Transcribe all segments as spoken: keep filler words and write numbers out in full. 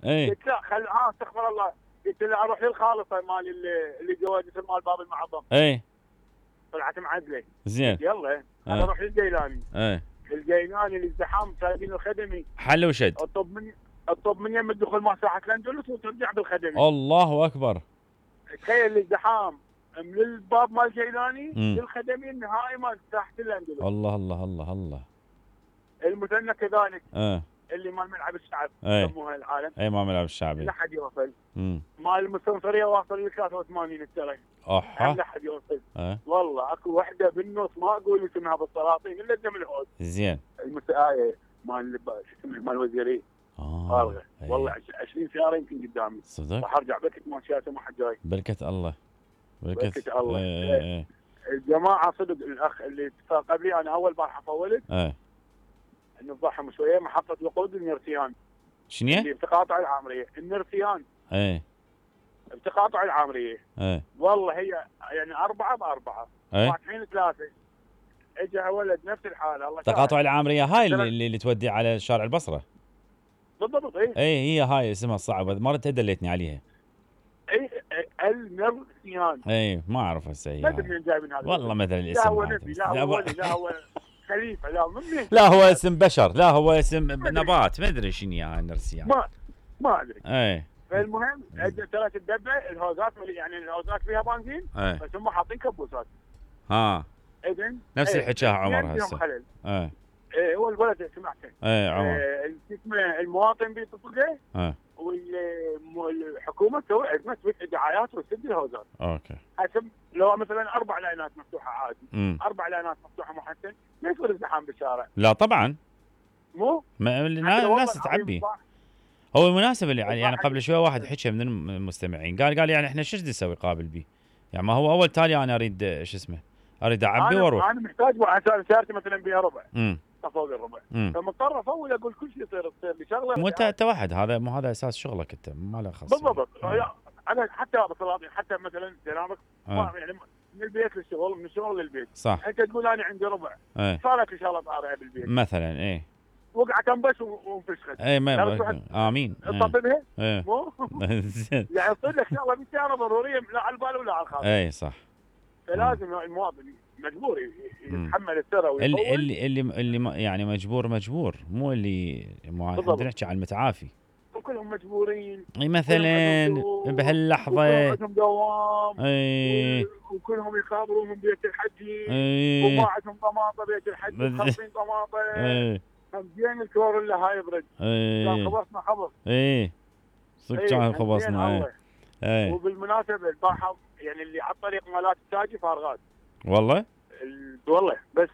اي قلت لا خل ها استغفر الله، قلت له اروح للخالصه مال اللي, اللي جوازت مال باب المعظم. اي طلعت معدله. زين. يلا انا اروح للجيلاني. اي الجيلاني الازدحام سايبين الخدمي. حل وشد. اطب من اطب من يم الدخول مال ساحه الاندلس وترجع بالخدمي. الله اكبر. تخيل الازدحام من الباب مال الجيلاني للخدمي النهائي مال ساحه الاندلس. الله الله الله الله. المثنى كذلك. اه اللي مال ملعب الشعب يسموها العالم. اي مال ملعب الشعبي. لا حد يوصل. امم مال المستنصريه واصل ل ثلاثة وثمانين الترى. احا لا حد يوصل. اه والله اكو وحده بالنص ما اقول اسمها بالسلاطين الا دم الهود. زين. المسايه مال شو اسمه مال الوزيريه. اه والله عشرين سياره يمكن قدامي. صدق؟ راح ارجع بكت ماشيات ما حد جاي. بركه الله. بركه, بركة الله. ايه ايه. الجماعه صدق الاخ اللي اتفق قبلي انا اول بارحه فولت. ايه نفضحهم شويه محطه وقود النرسيان. شنو؟ اللي بتقاطع العامريه، النرسيان. ايه بتقاطع العامريه. ايه والله هي يعني اربعه باربعه. ايه فاتحين ثلاثه. اجى ولد نفس الحاله الله. تقاطع العامريه هاي اللي, اللي, اللي تودي على شارع البصره. بالضبط اي. اي هي هاي اسمها الصعبه، مرتها دليتني عليها. اي النرسيان. اي ما اعرف هسه هي. ما ادري منين جاي من هذا. والله مثل الاسم. لا هو نبي، لا هو ولي، لا هو خليفه، لا منين؟ لا هو اسم بشر، لا هو اسم نبات، ما ادري شنو هاي النرسيان. ما ما ادري. اي فالمهم اجت ثلاث الدبه الهوزات يعني الهوزات فيها بنزين بس هم حاطين كبوسات. ها اذن نفس ايه الحكايه عمر هسه. ايه ايه هو الولد سمعته. ايه عمر. ايه اسمه المواطن بيتصل له. ايه والحكومه تسوي ازمه تفتح دعايات وتسد الهوزات. اوكي. حسب لو مثلا اربع لاينات مفتوحه عادي. مم. اربع لاينات مفتوحه محسن ما يصير ازدحام بالشارع. لا طبعا. مو؟ الناس تعبي. هو المناسب اللي يعني قبل شوي واحد حكى من المستمعين قال قال يعني احنا شو نسوي قابل بيه؟ يعني ما هو اول تالي انا اريد شو اسمه؟ اريد اعبي واروح. انا محتاج سيارتي مثلا بيها ربع. امم فوق الربع. فمضطر افول اقول كل شيء يصير تصير لي شغله. مو انت انت واحد هذا مو هذا اساس شغلك انت ما له خاص. بالضبط. انا حتى بسلاطين حتى مثلا سلامك يعني من البيت للشغل من الشغل للبيت. صح. انت تقول انا عندي ربع. ايه. صارت ان شاء الله طارئه بالبيت. مثلا ايه. وقع تنبش وانفشخت. اي ما امين. تطبها؟ ايه. مو؟ يعني تصير لك شغله بالسياره ضروريه لا على البال ولا على الخاطر. اي صح. فلازم المواطن مجبور يتحمل الثرى ويطول. اللي اللي اللي, اللي يعني مجبور مجبور مو اللي احنا نحكي عن المتعافي. وكلهم مجبورين. اي مثلا بهاللحظه. عندهم دوام. اي. وكلهم يخابرون من بيت الحجي. اي. وباعتهم طماطه بيت الحجي خمسين طماطه. اي. همزين الكوريلا هاي يبرد. اي. كان خبصنا خبص. اي. صدق كان خبصنا. اي. وبالمناسبه البارحه يعني اللي على الطريق مالات التاجي فارغات. والله؟ والله بس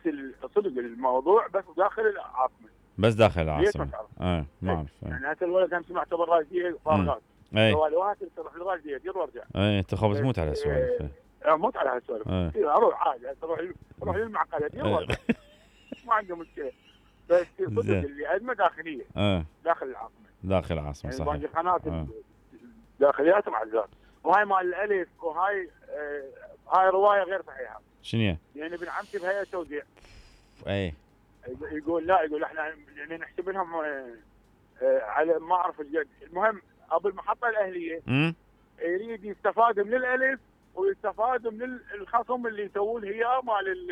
صدق الموضوع بس داخل العاصمه. بس داخل العاصمه. اه ما اعرف. يعني هذا الولد انا سمعته بالراشديه فارغات. اي. سوالفات تروح للراشديه دير وارجع. اي انت خبز موت على هالسوالف. اه موت على هالسوالف. اروح عادي اروح اروح للمعقله دير وارجع. ما عنده مشكله. بس صدق اللي ازمه داخليه. اه داخل العاصمه. داخل العاصمه صحيح. يعني باقي قناه داخليات معزات. وهاي مال الالف وهاي آه هاي روايه غير صحيحه. شنو؟ يعني ابن عمتي بهيئه توزيع. اي. يقول لا يقول احنا يعني نحسب لهم آه آه على ما اعرف الجد، المهم ابو المحطه الاهليه امم يريد يستفاد من الالف ويستفاد من الخصم اللي يسوون هي مال.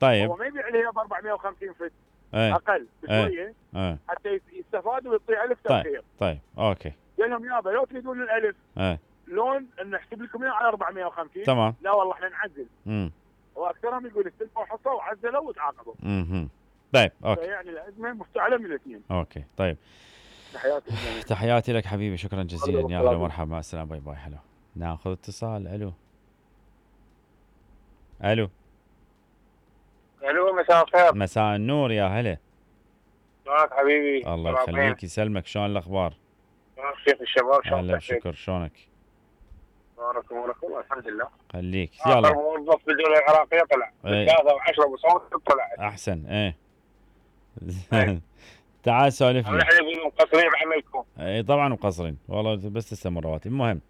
طيب هو ما يبيع لي ب أربعمية وخمسين فت. ايه. اقل بشويه. ايه. حتى يستفادوا ويعطي الف تاخير. طيب طيب اوكي. قال لهم يابا لو تريدون الالف ايه. لون نحسب لكم اياه على أربعمية وخمسين. تمام. لا والله احنا نعزل. امم واكثرهم يقول استلموا حصه وعزلوا وتعاقبوا. اها طيب اوكي. يعني الازمه مفتعله من الاثنين. اوكي طيب. تحياتي تحياتي لك حبيبي شكرا جزيلا يا اهلا ومرحبا مع السلامه باي باي. حلو ناخذ اتصال. الو الو الو مساء الخير. مساء النور يا هلا. شلونك حبيبي؟ الله يخليك يسلمك شلون الاخبار؟ كيف الشباب شلونك؟ هلا شكر شلونك؟ بارك امورك والله الحمد لله. خليك يلا. اخر موظف بالدوله العراقيه طلع ثلاثة وعشرة بصوت طلع. احسن ايه. تعال سولف لي. احنا يقولون مقصرين بعملكم. اي طبعا مقصرين والله بس تستمر الرواتب. المهم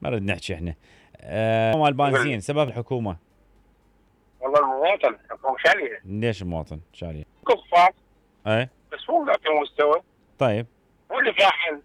ما نريد نحكي احنا. آه مال البنزين سبب الحكومه. والله المواطن الحكومه شاليه. ليش المواطن شاليه؟ كفار. اي بس مو ذاك المستوى. طيب. هو اللي فاحل